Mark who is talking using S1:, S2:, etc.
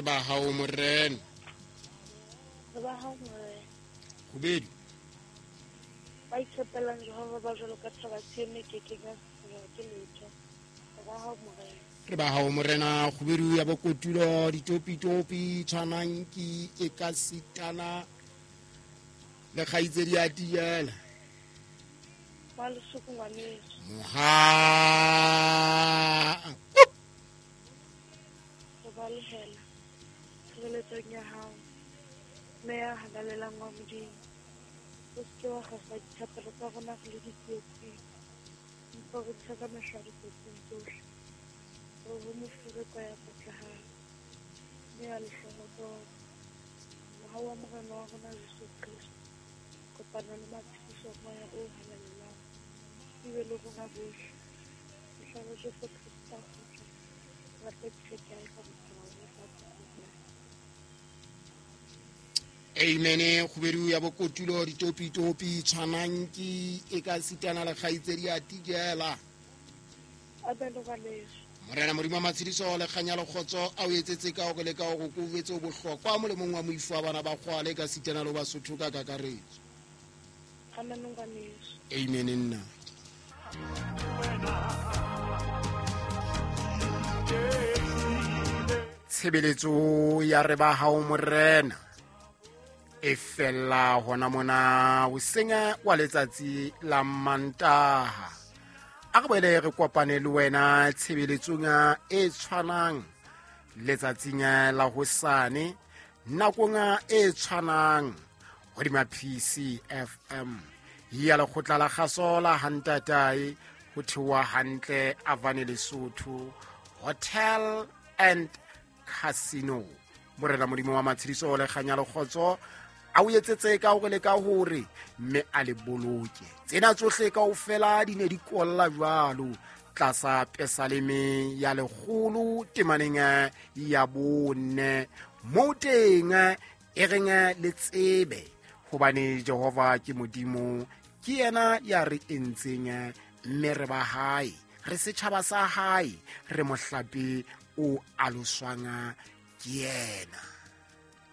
S1: Re ba hao Morena.
S2: Re ba hao Morena.
S1: Kgubedu.
S2: Ba itshepelang Jehova ba jwalo ka thaba Sione e ke keng ya sisinngwa ke letho. Re ba hao Morena.
S1: Re ba hao Morena. Kgubedu ya bokotulo ditopitopi tshwanang ke e ka sitana le kgaitsedi ya tiela.
S2: Wa lesoko ngwaneso.
S1: Moha.
S2: Re balehela tshireletsong ya hao, Mme ya halalelang wa Modimo. O se ke wa kgasa dithapelo tsa rona re le ditsietsing, empa o re ntshe ka mehla dikotsing tsohle. Re ho mofereko ya patlehang, mme ya lehlohonolo. Mohau wa Morena wa rona Jesu Kreste, kopano le matshediso a Moya o Halalelang, di be le rona bohle. Mohla wa Jesu Kreste a kgutla, re tla itshekeha ka bophara ba lefatshe kaofela.
S1: Amen. Kgubedu ya bokotulo ditopitopi tshwanang ke e ka sitana le kgaitsedi ya tijela.
S2: Amen ngwaneso.
S1: Morena Modimo wa matshediso le kganya le kgotso a o etsetse ka hore le ka hore ko o etse o bohlokwa molemong wa moifo wa bana ba kgwale ka sitana le Basotho ka kakaretso.
S2: Amen ngwaneso.
S1: Amen nna. Tshebeletso ya re ba hao Morena e fella hona mona hoseng wa letsatsi la Mantaha. A re boele re kopane le wena tshebeletsong e tshwanang letsatsing la hosane nakong e tshwanang hodima PCFM ya lekgotla la kgaso la Hantatae ho theoha hantle Avane Lesotho Hotel and Casino. Morena Modimo wa matshediso le kganya le kgotso a o etsetse ka hore le ka hore mme a le boloke. Tsena tsohle kaofela di ne di kolla jwalo tlasa pesaleme ya 100 temaneng ya 4 moo teng e reng le tsebe hobane Jehova ke Modimo, ke yena ya re entseng mme re ba hae, re setjhaba sa hae, re mohlape o aloswang ke yena.